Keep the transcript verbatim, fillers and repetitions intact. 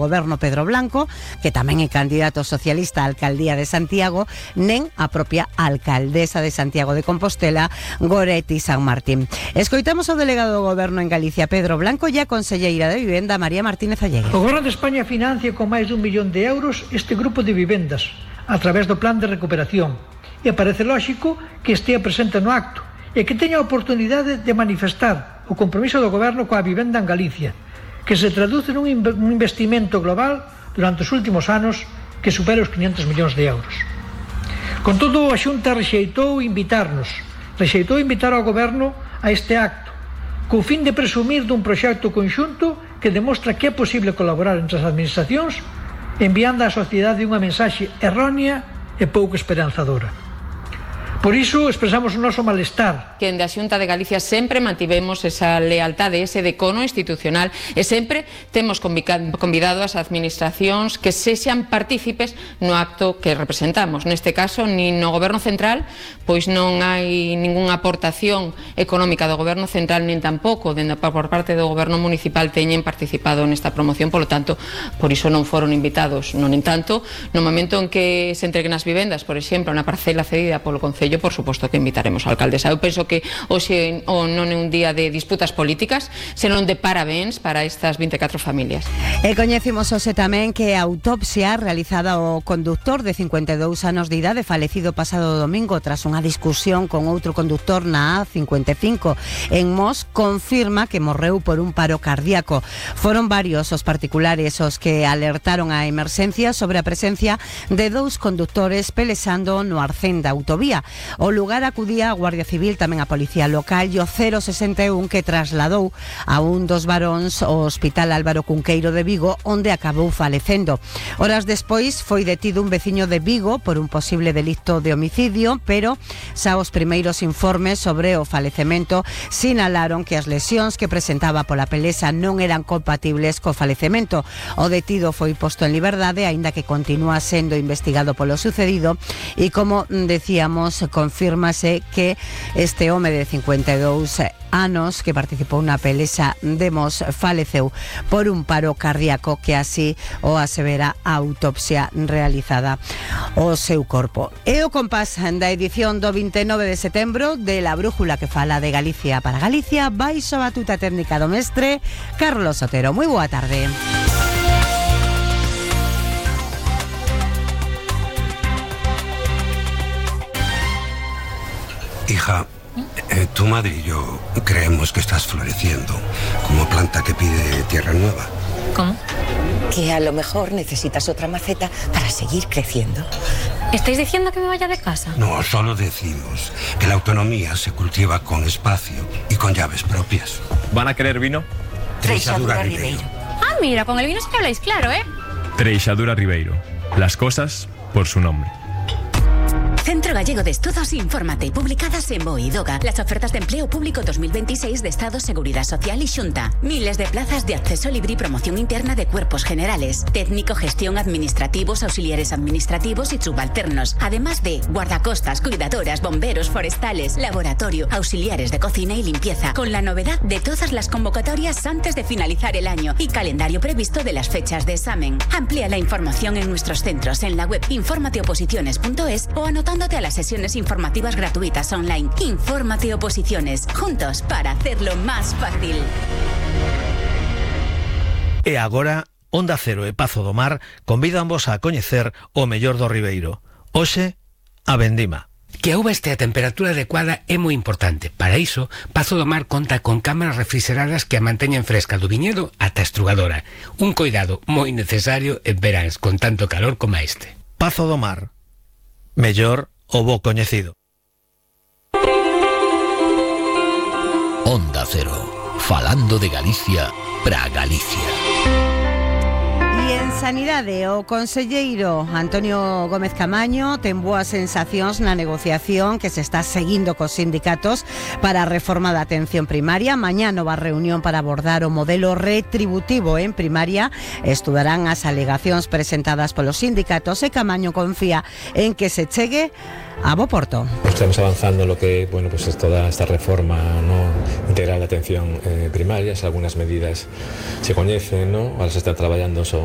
goberno Pedro Blanco, que tamén é candidato socialista á alcaldía de Santiago, nen a propia alcaldesa de Santiago de Compostela, Goretti San Martín. Escoitamos ao delegado do goberno en Galicia, Pedro Blanco, e a conselleira de Vivenda, María Martínez Allegue. O goberno de España financia con máis dun millón de euros este grupo de vivendas a través do plan de recuperación, e parece lóxico que estea presente no acto e que teña a oportunidade de manifestar o compromiso do goberno coa vivenda en Galicia, que se traduce nun investimento global durante os últimos anos que supera os quinhentos millóns de euros. Con todo, a Xunta rexeitou invitarnos, rexeitou invitar ao goberno a este acto, co fin de presumir dun proxecto conxunto que demostra que é posible colaborar entre as administracións, enviando á sociedade unha mensaxe errónea e pouco esperanzadora. Por iso expresamos o noso malestar. Que en da Xunta de Galicia sempre mantivemos esa lealtade, ese decono institucional, e sempre temos convidado as administracións que sexan partícipes no acto que representamos. Neste caso, nin no Goberno Central, pois non hai ningunha aportación económica do Goberno Central, nin tampouco dende por parte do Goberno Municipal teñen participado nesta promoción, polo tanto, por iso non foron invitados. Non entanto, no momento en que se entreguen as vivendas, por exemplo, na parcela cedida polo Concello, por suposto que invitaremos a alcaldesa. Eu penso que hoxe o non é un día de disputas políticas, senón de parabéns para estas vinte e catro familias. E coñecimos hoxe tamén que a autopsia realizada ao conductor de cincuenta e dous anos de idade falecido pasado domingo tras unha discusión con outro conductor na A cincuenta e cinco en Mos confirma que morreu por un paro cardíaco. Foron varios os particulares os que alertaron a emerxencia sobre a presencia de dous conductores pelexando no arcén da autovía. O lugar acudía a Guardia Civil, tamén a Policía Local e o cero sesenta e un que trasladou a un dos varóns ao Hospital Álvaro Cunqueiro de Vigo, onde acabou falecendo. Horas despois foi detido un veciño de Vigo por un posible delito de homicidio, pero xa os primeiros informes sobre o falecemento sinalaron que as lesións que presentaba pola pelesa non eran compatibles co falecemento. O detido foi posto en liberdade, aínda que continúa sendo investigado polo sucedido, e como decíamos, confírmase que este home de cincuenta e dous anos que participou na pelesa de Mos faleceu por un paro cardíaco, que así o asevera a autopsia realizada o seu corpo. E o compás da edición do vinte e nove de setembro de La Brújula, que fala de Galicia para Galicia, baixo a batuta técnica do mestre Carlos Otero. Moi boa tarde. Hija, eh, tu madre y yo creemos que estás floreciendo como planta que pide tierra nueva. ¿Cómo? Que a lo mejor necesitas otra maceta para seguir creciendo. ¿Estáis diciendo que me vaya de casa? No, solo decimos que la autonomía se cultiva con espacio y con llaves propias. ¿Van a querer vino? Treixadura Ribeiro. Ah, mira, con el vino sí que habláis claro, ¿eh? Treixadura Ribeiro. Las cosas por su nombre. Centro Gallego de Estudos, infórmate, publicadas en Boidoga. Las ofertas de empleo público dos mil veintiséis de Estado, Seguridad Social y Xunta. Miles de plazas de acceso libre y promoción interna de cuerpos generales, técnico, gestión, administrativos, auxiliares administrativos y subalternos. Además de guardacostas, cuidadoras, bomberos, forestales, laboratorio, auxiliares de cocina y limpieza. Con la novedad de todas las convocatorias antes de finalizar el año y calendario previsto de las fechas de examen. Amplía la información en nuestros centros en la web infórmateoposiciones punto es o anotando a las sesiones informativas gratuitas online. Infórmate Oposiciones, juntos para hacerlo más fácil. E agora, Onda Cero e Pazo do Mar convídanvos a coñecer o mellor do Ribeiro. Hoxe, a vendima. Que a uva este a temperatura adecuada é moi importante. Para iso, Pazo do Mar conta con cámaras refrigeradas que a manteñen fresca do viñedo ata a estrugadora. Un coidado moi necesario en veráns con tanto calor como este. Pazo do Mar. Mellor o bo coñecido. Onda Cero, falando de Galicia para Galicia. E en Sanidade, o conselleiro Antonio Gómez Camaño ten boas sensacións na negociación que se está seguindo cos sindicatos para a reforma da atención primaria. Mañá nova reunión para abordar o modelo retributivo en primaria. Estudarán as alegacións presentadas polos sindicatos e Camaño confía en que se chegue a bo porto. Estamos avanzando en lo que, bueno, pues es toda esta reforma, ¿no?, integral de atención eh, primaria. Algunas medidas se coñecen, ¿no? Ahora se está traballando so